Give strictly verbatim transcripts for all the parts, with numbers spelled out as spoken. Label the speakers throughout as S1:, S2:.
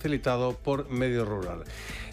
S1: facilitado por Medio Rural.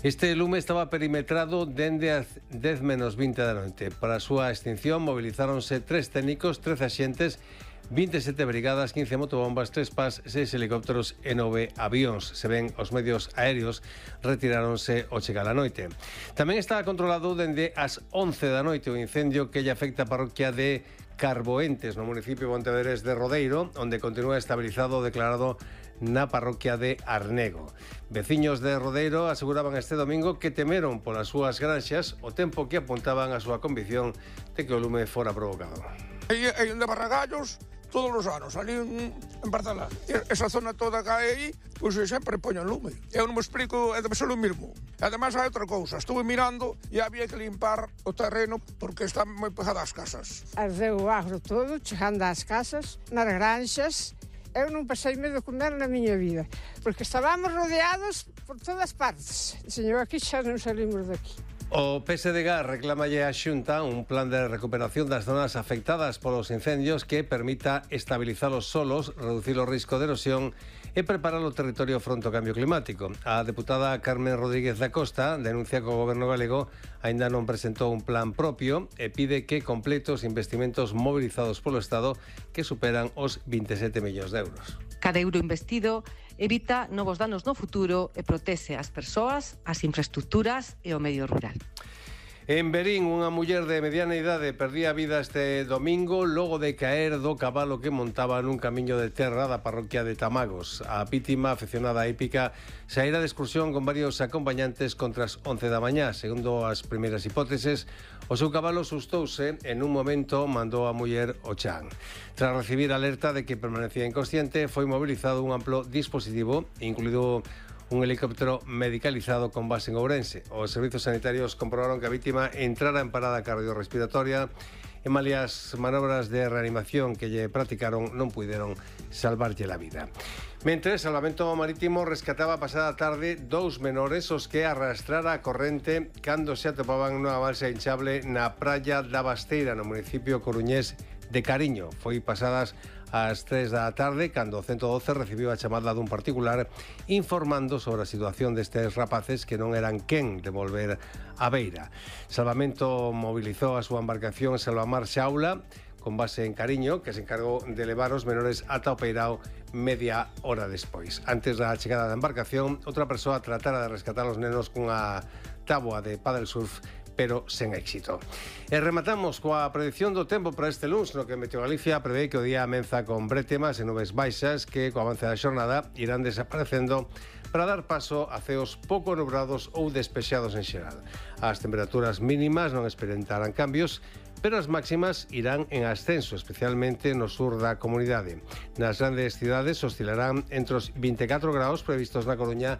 S1: Este lume estaba perimetrado dende as dez menos vinte da noite. Para a súa extinción mobilizáronse tres técnicos, trece axentes, vinte e sete brigadas, quince motobombas, tres pas, seis helicópteros e nove avións. Se ven, os medios aéreos retiráronse ao chegar a noite. Tamén está controlado dende as once da noite o incendio que lle afecta a parroquia de Carboentes, no municipio pontevedrés de Rodeiro, onde continúa estabilizado o declarado na parroquia de Arnego. Veciños de Rodeiro aseguraban este domingo que temeron polas súas granxas o tempo que apuntaban a súa convicción de que o lume fora provocado.
S2: Hai, hai de Barragallos todos os anos, ali en, en Barcelona. Esa zona toda que hai aí, pois sempre poñen lume. Eu non me explico, é debe ser o mismo. Ademais hai outra cousa, estuve mirando e había que limpar o terreno porque están moi pegadas as casas.
S3: Ardeu o agro todo, chegando ás casas, nas granxas. Eu non pasei medo comer na miña vida, porque estábamos rodeados por todas partes. Señor, aquí xa non salimos daqui.
S1: O P S D G reclamalle á Xunta un plan de recuperación das zonas afectadas polos incendios que permita estabilizar os solos, reducir o risco de erosión e preparar o territorio fronte ao cambio climático. A deputada Carmen Rodríguez da Costa denuncia que o goberno galego aínda non presentou un plan propio e pide que complete os investimentos mobilizados polo Estado que superan os vinte e sete millóns de euros.
S4: Cada euro investido evita novos danos no futuro e protexe as persoas, as infraestructuras e o medio rural.
S1: En Verín, unha muller de mediana idade perdía a vida este domingo logo de caer do cabalo que montaba nun camiño de terra da parroquia de Tamagos. A vítima, afeccionada a hípica, saíra de excursión con varios acompañantes contra as once da mañá. Segundo as primeiras hipóteses, o seu cabalo sustouse e nun momento mandou a muller ao chan. Tras recibir alerta de que permanecía inconsciente, foi mobilizado un amplo dispositivo, incluído un helicóptero medicalizado con base en Ourense. Os servizos sanitarios comprobaron que a vítima entrara en parada cardiorrespiratoria e malias manobras de reanimación que lle practicaron non puideron salvarlle a vida. Mentres, Salvamento Marítimo rescataba pasada tarde dous menores os que arrastrara a corrente cando se atopaban nunha balsa hinchable na praia da Basteira, no municipio coruñés de Cariño. Foi pasadas ás tres da tarde cando o ciento doce recibiu a chamada dun particular informando sobre a situación destes rapaces que non eran quen de volver á beira. Salvamento mobilizou a súa embarcación Salvamar Xaula con base en Cariño, que se encargou de levar os menores ata o Peirao media hora despois. Antes da chegada da embarcación, outra persoa tratara de rescatar os nenos cunha táboa de paddle surf, pero sen éxito. E rematamos coa predicción do tempo para este luns, no que Meteo Galicia prevé que o día amenza con brétemas e nubes baixas que, co avance da xornada, irán desaparecendo para dar paso a ceos pouco nubrados ou despexados en xeral. As temperaturas mínimas non experimentarán cambios, pero as máximas irán en ascenso, especialmente no sur da comunidade. Nas grandes cidades oscilarán entre os vinte e catro graus previstos na Coruña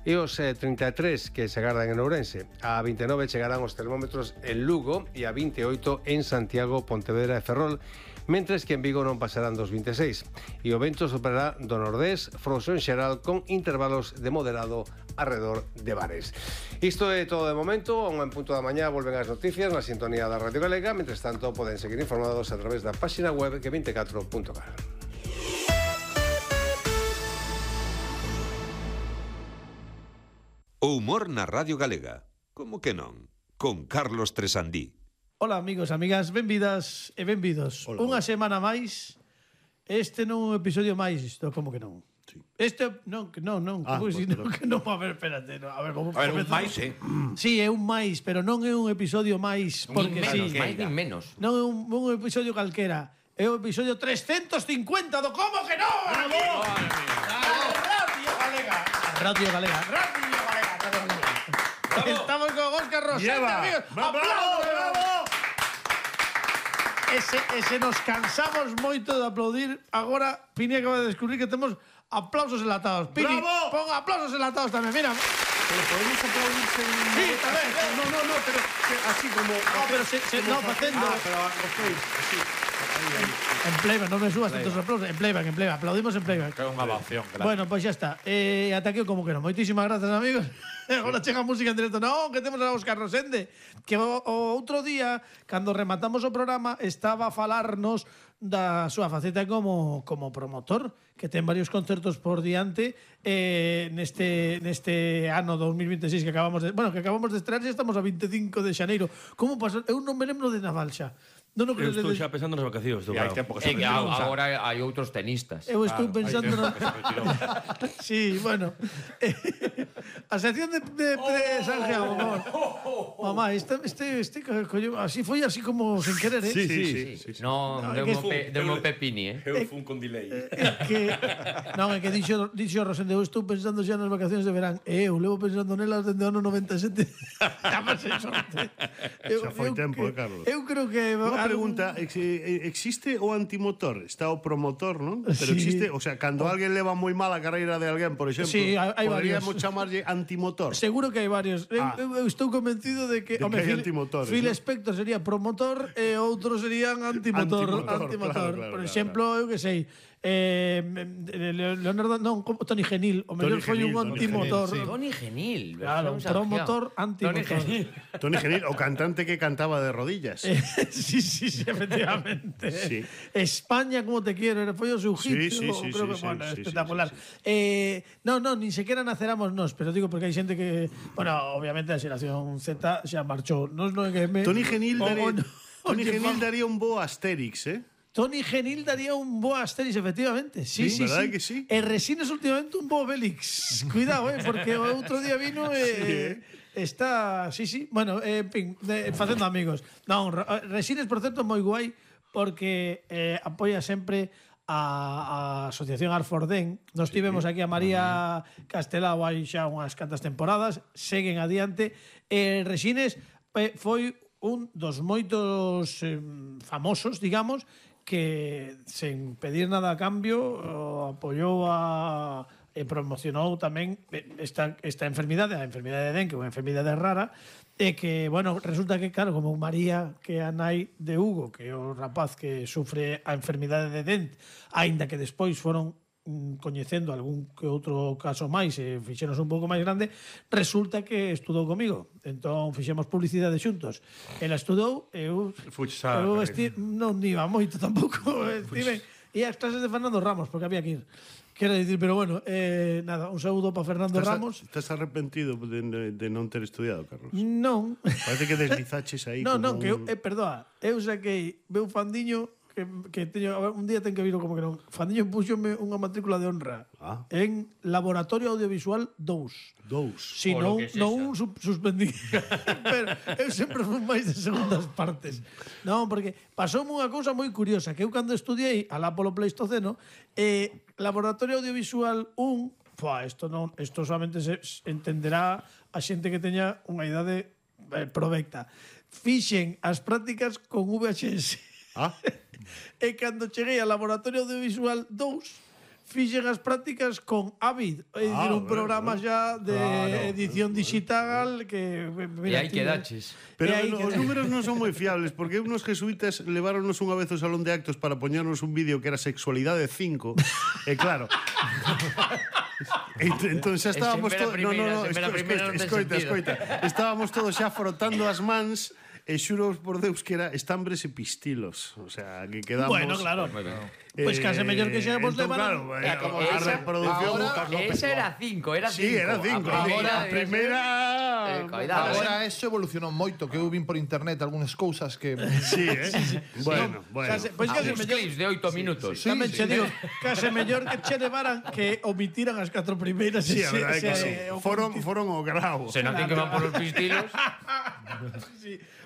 S1: e os trinta e tres que se agardan en Ourense. A vinte e nove chegarán os termómetros en Lugo e a vinte e oito en Santiago, Pontevedra e Ferrol, mentres que en Vigo non pasarán dos vinte e seis. E o vento superará do nordés, frouxo en xeral, con intervalos de moderado arredor de bares. Isto é todo de momento. A un en punto da mañá volven as noticias na sintonía da Radio Galega. Mentres tanto, poden seguir informados a través da página web que vinte e catro punto gal.
S5: O humor na Radio Galega. Como que non? Con Carlos Tresandí.
S6: Ola, amigos, amigas, benvidas e benvidos. Hola. Unha semana máis. Este non é un episodio máis, isto como que non. Sí. Este non, que non, non, ah, pues, no, que non, a ver, espérate, no, a ver, como
S7: A ver, un máis, eh.
S6: Sí, é un máis, pero non é un episodio máis porque
S7: nin menos,
S6: sí.
S7: máis nin menos.
S6: Non é un, un episodio calquera. É o episodio trescientos cincuenta do Como que non? Bravo! Radio Galega. Radio Galega. Radio Galega. Estamos con Óscar Rosete, amigos.
S7: ¡Bravo!
S6: ¡Bravo! E se, e se nos cansamos moito de aplaudir, agora Pini acaba de descubrir que temos aplausos enlatados. Pini,
S7: ¡Bravo!
S6: pon aplausos enlatados tamén, mira.
S7: Pero podemos aplaudir sen...
S6: Sí, tamén.
S7: No, no, no, pero así como...
S6: No, pero se, se, no, facendo...
S7: Ah, pero ok, así.
S6: En playback, non me subas tantos aplausos. En playback, en playback. Aplaudimos en playback.
S7: Que é unha ovación, claro.
S6: Bueno, pois pues xa está. Eh, ata aquí como que non. Moitísimas grazas, amigos. Agora chega a música en directo. Non, que temos a Óscar Rosende. Que o, o outro día, cando rematamos o programa, estaba a falarnos da súa faceta como, como promotor, que ten varios concertos por diante eh, neste, neste ano dos mil veintiséis que acabamos de... Bueno, que acabamos de estrenar, e estamos a veinticinco de xaneiro. Como pasou? Eu non me lembro de Nadal xa. Non, non,
S8: Eu estou
S6: de...
S8: xa pensando nas vacacións.
S7: E hai tempo que
S9: É
S7: se
S9: que a- agora hai outros tenistas.
S6: Eu estou
S7: Claro,
S6: pensando...
S7: hai
S6: No...
S7: tempo que se retirou.
S6: Sí, bueno. A sección de, de, de Sanjeado, por favor. Mamá, este, este, este, coño, así foi así como sin querer, eh?
S8: Sí, sí, sí.
S9: Non,
S6: No, é
S9: deu
S6: que
S9: mo pe, deu mo pepini, eh.
S8: Eu fun con delay.
S6: É que non, é que dixo, dixo Rosende, eu estou pensando xa nas vacacións de verán e eu levo pensando nelas dende o ano noventa e sete.
S10: Xa foi tempo, eh, Carlos.
S6: Eu creo que
S10: Unha pregunta, ex- eh, existe o antimotor? Está o promotor, non? Pero
S6: Sí.
S10: existe, o sea, cando alguén leva moi mal a carreira de alguén, por exemplo,
S6: Sí, hai- hai
S10: poderíamos
S6: varios.
S10: chamarlle antimotor.
S6: Seguro que hai varios. Eu,
S10: Ah.
S6: eu, eu estou convencido de que,
S10: De
S6: home,
S10: que hai
S6: Phil,
S10: antimotores,
S6: Phil
S10: ¿no?
S6: Spector sería promotor e outros serían antimotor,
S10: Antimotor,
S6: antimotor.
S10: claro, claro,
S6: Por
S10: claro,
S6: exemplo, eu que sei, eh, Leonardo, non, como Tony Genil, o mellor
S10: Tony
S6: foi un
S10: Genil, Tony
S6: antimotor.
S10: Genil, sí.
S9: Tony Genil.
S6: Claro,
S9: versión
S6: promotor,
S9: Sanjeao.
S6: antimotor.
S9: Tony Genil.
S10: Tony Genil, o cantante que cantaba de rodillas.
S6: Eh, sí, sí, sí, efectivamente.
S10: Sí.
S6: España, como te quiero, era foi o seu hit.
S10: Sí, sí,
S6: o-
S10: sí,
S6: creo
S10: sí,
S6: que,
S10: sí,
S6: bueno,
S10: sí,
S6: espectacular.
S10: sí, sí,
S6: Eh, no, no, ni sequera naceramos nós, pero digo porque hai xente que, bueno, obviamente a xeración Z xa marchou. Nos non é que me
S10: Tony Genil
S6: o-
S10: daría,
S6: o no-
S10: Tony
S6: oye,
S10: Genil
S6: vamos.
S10: daría un bo Asterix, eh?
S6: Tony Genil daría un bo Asterix, efectivamente. Sí,
S10: Sí,
S6: sí,
S10: verdad
S6: sí.
S10: que sí?
S6: E Resines últimamente un bo Obelix. Cuidado, eh, porque o outro día vino e eh, está, sí, sí. Bueno, eh, en fin, de, facendo amigos. Non, Re- Resines, por certo, moi guai porque eh, apoia sempre a, a Asociación Arfordén. Nos tivemos aquí a María Castelao hai xa unhas cantas temporadas, seguen adiante. E Resines eh, foi un dos moitos eh, famosos, digamos, que sen pedir nada a cambio o apoiou a e promocionou tamén esta, esta enfermidade, a enfermidade de Dengue, unha enfermidade rara, e que, bueno, resulta que, claro, como María, que é a nai de Hugo, que é o rapaz que sufre a enfermidade de Dent, aínda que despois foron mm, coñecendo algún que outro caso máis e fixenos un pouco máis grande, resulta que estudou comigo. Entón fixemos publicidade xuntos. Ela estudou, eu
S8: Fuches a-
S6: eu esti, non iba moito tampouco, estive e as clases de Fernando Ramos, porque había que ir. Quero dicir, pero bueno, eh, nada, un saúdo para Fernando
S10: Estás,
S6: Ramos.
S10: a, estás arrepentido de, de, de non ter estudiado, Carlos?
S6: Non.
S10: Parece que deslizaches aí
S6: Non,
S10: como
S6: non, que eu,
S10: un...
S6: eh, perdoa, eu saquei meu fandiño que, que teño, a ver, un día ten que vir como que non. Fandiño puxome unha matrícula de honra
S10: Ah.
S6: en Laboratorio Audiovisual dous.
S10: Dous.
S6: Si
S9: O
S6: non,
S9: lo que
S6: non sub, suspendí. Pero eu sempre fui máis de segundas partes. Non, porque pasoume unha cousa moi curiosa, que eu cando estudiei alá polo Pleistoceno, eh, Laboratorio Audiovisual un, fua, isto non, isto solamente se se entenderá a xente que teña unha idade eh, provecta. Fixen as prácticas con V H S.
S10: Ah,
S6: E cando cheguei ao Laboratorio Audiovisual dous, fixen as prácticas con Avid, é dicir,
S10: Ah,
S6: un
S10: bueno,
S6: programa
S10: bueno.
S6: xa de
S10: Claro,
S6: edición digital que...
S9: E
S6: mira,
S9: aí
S6: tío,
S9: quedaches.
S10: pero
S6: E aí
S10: no, os
S6: quedei.
S10: números non son moi fiables, porque unos jesuitas leváronos unha vez ao salón de actos para poñernos un vídeo que era Sexualidade cinco, e claro... Ent- entón xa estábamos
S9: Sempre a
S10: todos... No, no, no,
S9: primeira, sempre a
S10: esco-
S9: primeira non ten
S10: escoita,
S9: sentido.
S10: escoita. Estábamos todos xa frotando as mans e xuro por Deus que era estambres e pistilos. O sea, que quedamos...
S6: Bueno, claro.
S9: Moi ben.
S6: Pois case mellor que xa vos
S10: entón,
S6: levaran-
S10: claro,
S9: É
S10: eh,
S9: como
S10: a
S9: esa-
S10: reproducción...
S7: ahora-
S9: Esa era cinco, era cinco.
S10: Sí, era cinco.
S9: A primeira,
S10: A primeira...
S9: Eh, cuidado,
S7: Agora eso evolucionou moito, que eu vin por internet algunhas cousas que...
S10: Sí, eh? Bueno, bueno.
S6: Case, pois case
S9: Algúns
S6: mellor...
S9: clips de oito minutos.
S7: Sí,
S6: Tamén
S7: sí.
S6: che digo, case mellor que che levaran que omitiran as catro primeiras.
S10: Sí,
S6: e
S10: a
S6: se-
S10: verdade é que
S6: se-
S10: sí.
S6: o
S10: Foron,
S6: conti-
S10: foron o grau.
S9: Se non ten que van por os pistilos.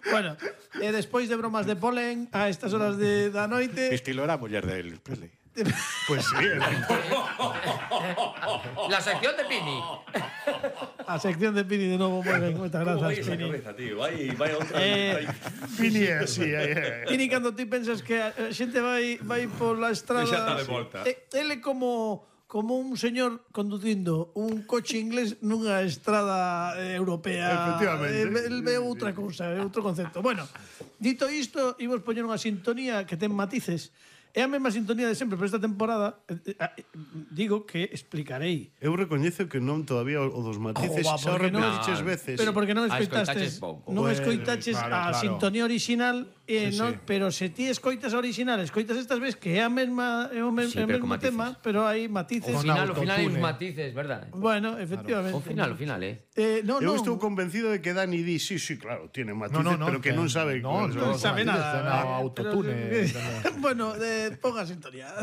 S6: Bueno, e despois de bromas de polen, a estas horas de, da noite...
S7: Estilo era a muller de Elvis Presley.
S10: Pues sí, era-
S9: La sección de Pini.
S6: A sección de Pini de novo, moi ben, moitas grazas, Pini.
S8: tío. Vai, vai a outra.
S6: Eh,
S10: Pini é así. eh, eh.
S6: Pini, cando ti pensas que a a xente vai vai pola estrada...
S8: Xa está de volta.
S6: eh, Ele como como un señor conducindo un coche inglés nunha estrada eh, europea.
S10: Efectivamente.
S6: Eh, el ve outra cousa, é outro concepto. Bueno, dito isto, imos poñer unha sintonía que ten matices. É a mesma sintonía de sempre, pero esta temporada eh, eh, digo que explicarei.
S10: Eu recoñezo que non todavía o o dos matices,
S6: Joba,
S10: xa o
S6: porque non-
S10: repetiches veces.
S6: Pero porque non
S9: Ah, escoitaches
S6: escoitaches,
S9: pouco.
S6: non
S10: Bueno,
S6: escoitaches
S7: claro,
S6: a
S7: claro.
S6: sintonía original Eh,
S7: Sí,
S6: non,
S7: sí.
S6: pero se ti escoitas a original, escoitas estas veces que é a mesma é o, me,
S9: Sí,
S6: é o
S9: pero con
S6: mesmo
S9: matices.
S6: tema, pero hai matices.
S9: O
S7: Con
S9: final, o final hai uns
S7: autotune.
S9: matices, verdad?
S6: Bueno, efectivamente.
S9: O final, o final, eh.
S6: Eh, no,
S10: Eu
S6: no.
S10: estou convencido de que Dani di, sí, sí, claro, tiene matices,
S7: No, no, no,
S10: pero que non sabe.
S7: No,
S10: cuáles
S7: no
S10: son.
S6: sabe
S7: matices,
S6: nada.
S7: no,
S6: eh,
S7: autotune.
S6: pero- bueno, eh, ponga sintonía.